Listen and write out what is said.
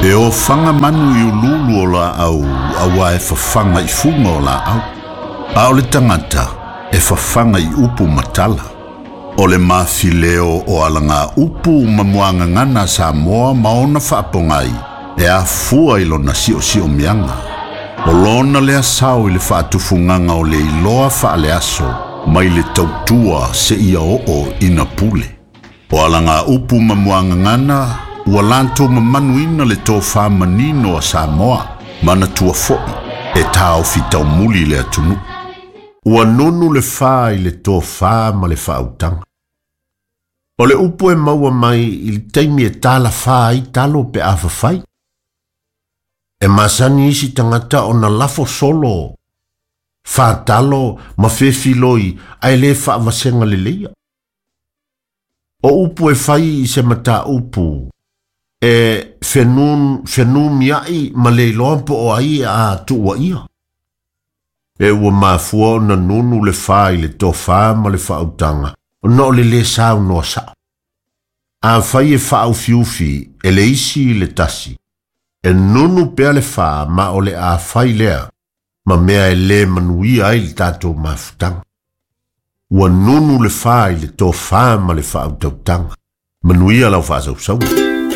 E ofaga manu i uluulu o laau auā e fafaga i fuga o laau. A o le tagata e fafaga i upu ma tala. O le mafileo o alagaupu ma muagagana a Samoa ma ona faapogai e afua i lona siosiomiaga. O lona lea sao i le faatufugaga o le iloa faaleaso mai le tautua seia oo ina pule. O alagaupu ma muagagana ua latou mamanuina le tofā manino a Samoa, manatua foi e taofi taumuli le atunuu. Ua nunu le fā i le tofā ma le faautaga. O le upu e maua mai i le taimi e talafā ai talo pe a fafai. E masani isi tagata ona lafo solo fā talo ma fefiloi ae lē faavasega leleia. O upu e fai i se mataupu e fenumiaʻi ma le iloa po o ai a tuuaia. E ua mafua ona nunu le fā i le tofā ma le faautaga ona o le lē saunoa saʻo. Afai e faaufiufi e le isi i le tasi, e nunu pea le fā ma o le a fai lea ma mea e lē manuia ai le tatou mafutaga. Ua nunu le fā i le tofā ma le faautautaga. Manuia lau faasausauga.